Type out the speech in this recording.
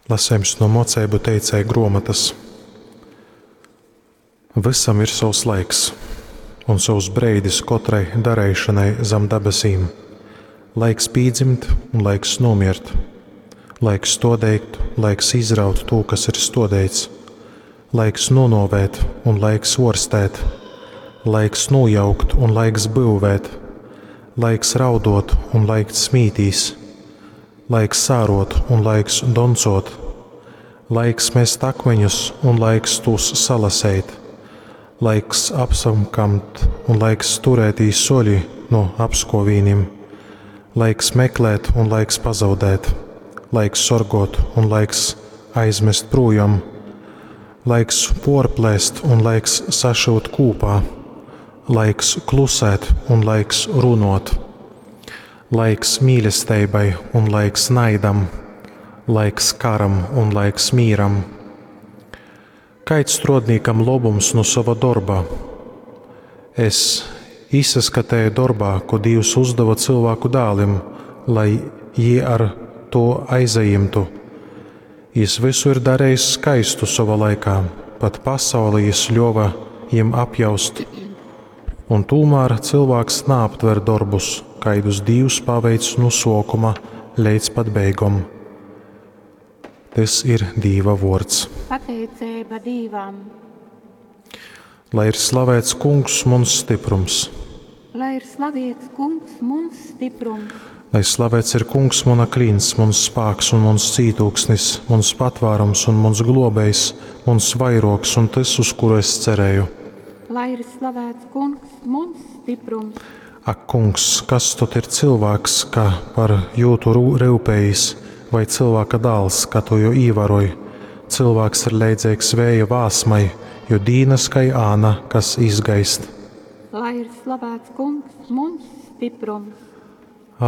Lasejums no Moceibu teicēja gruomotys. Vysam ir sovs laiks un sovs breidis kotrai dareišonai zam dabasīm. Laiks pīdzimt un laiks nūmiert. Laiks stuodeit, laiks izraut tū, kas ir stuodeits. Laiks nūnuovēt un laiks uorstēt. Laiks nūjaukt un laiks byuvēt. Laiks rauduot un laiks smītīs. Laiks sāruot un laiks doncuot. Laiks mest akmeņus un laiks tūs salaseit. Laiks apsamkamt un laiks turētīs soli no apskovīnim. Laiks meklēt un laiks pazaudēt. Laiks sorgot un laiks aizmest prūjom. Laiks porplēst un laiks sašyut kūpā. Laiks klusēt un laiks runot. Laiks mīlestībai un laiks naidam. Laiks karam un laiks mīram. Kaids strodnīkam lobums no sova darba? Es izsaskatēju darbā, ko Dievs uzdeva cilvēku dālim, lai jī ar to aizajimtu. Jis visu ir darījis skaistu sova laikā, pat pasauli jis ļova jim apjaust. Un tūmēr cilvēks neaptver darbus, kaidus Dievs paveic no sokuma līdz pat beigom. Tas ir Dīva vārds. Pateicība Dīvam! Lai ir slavēts Kungs, muns stiprums! Lai ir slavēts Kungs, muns stiprums! Lai slavēts ir Kungs, muna klints, muns spāks un muns cītūksnis, muns patvārums un muns globējs, muns vairogs un tas, uz kuru es cerēju. Lai ir slavēts Kungs, muns stiprums! Ak, Kungs, kas tad ir cilvēks, ka par jūtu rūpējis, vai cilvēka dāls, ka tu jo īvaroj? Cilvēks ir leidzīgs vēja vāsmai, jo dīnas kai āna, kas izgaist. Lai ir slavēts Kungs, muns stiprums!